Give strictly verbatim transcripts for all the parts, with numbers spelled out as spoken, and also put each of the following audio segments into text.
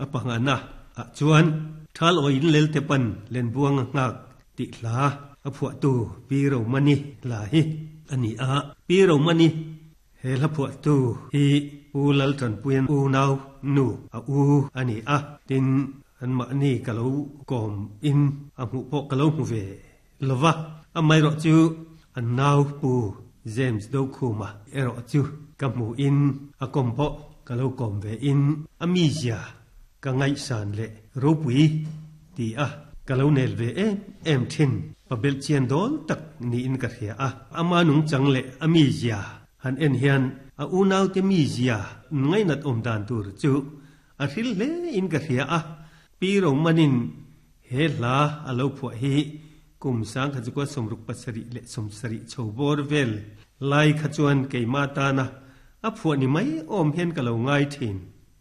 A pangana ah chuan thal oin lel te pan len buang ngak ti hla a phuah tu Pi Romani hla hi ani a. Pi Romani he hla phuah tu hi Pu Lal Tanpuian u nau nu a u ani a. Tin an mahni ka lo kawm in a hmuh pawh ka lo hmu ve lova. Amaherawh chu an nau Pu James Dokhuma erawh chu ka hmu in a kawm pawh ka lo kawm ve in a mizia ka ngaihsan leh ropui ti a ka lo nel ve em em thin. Pabel chian dawl tak niin ka hria a. Ama nung chang leh a mizia han en hian a unau te mizia ngainat awm dan tur chu a hril hle in ka hria a. Pi Romanin he hla a lo phuah hi kum sang kha chu kwa sawmruk pasarih leh sawmsarih chho bawr vel lai kha chuan keima tana a phuah ni mai awm hian ka lo ngai thin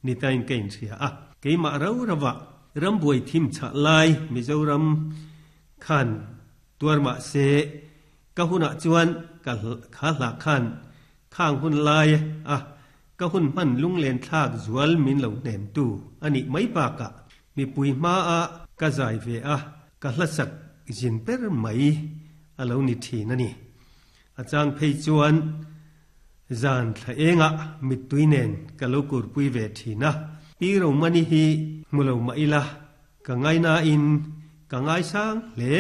ni tain ka inhria a. Keimah ro rova rambuai thim chah lai Mizoram khan tuar mah se ka hunah chuan ka kha hla khan khang hun lai a ka hun hman lunglen thlak zual min lo hnem tu ani mai bakah mipui hma a ka zai ve a ka hla sak zin ber mai a lo ni thin ani. A chang phei chuan zan thla enga mittui nen ka lo kurpui ve thin a. Pi Romani hi hmulo mah ila ka ngai na in ka ngai sang hle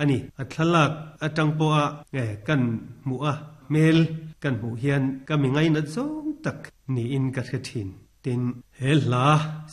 ani. A thlalak atang pawh a kan hmuh a hmel kan hmuh hian ka mi ngai nat zawng tak niin ka hre thin. Tin he hla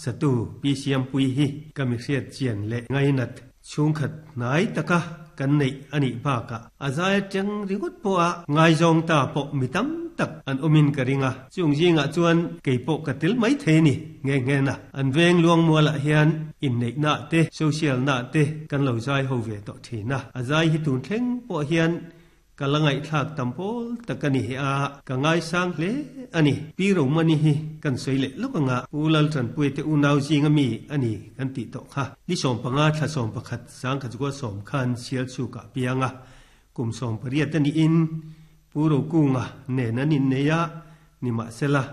satu Pi Siampui hi ka mi hriat chian leh ngai nat chhungkhat hnai taka kan neih ani bakah a zai atang ringawt pawh a ngai zawng ta pawh mi tam tak an awmin ka ring a. Chung zingah chuan kei pawh ka tel mai thei ni nge nge na. An veng luang mualah hian inneih na te social na te kan lo zai ho ve tawh thin a. A zai hi tun thleng pawh hian ka la ngaihthlak tam pawl tak ani hi a ka ngai sang hle ani. Pi Romani hi kan sawi leh lawk anga Pu Lal Tanpuia te unau zinga mi ani kan tih tawh kha. Ni sawm panga thla sawm pakhat sang kha chu sawm khan sial chhukah pianga kum sawm pariat ani in Pu Rokunga nen an innei a ni mahsela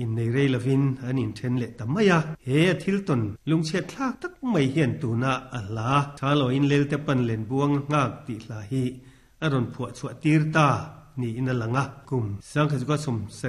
innei rei lovin an inthen leh ta mai a. He a thil tawn lungchhiat thlak tak mai hian tuna a hla tha lo in lel te pan len buang ngak tih hla hi a rawn phuah chhuah tir ta niin a lang a. Kum sang kha chu sawm sarih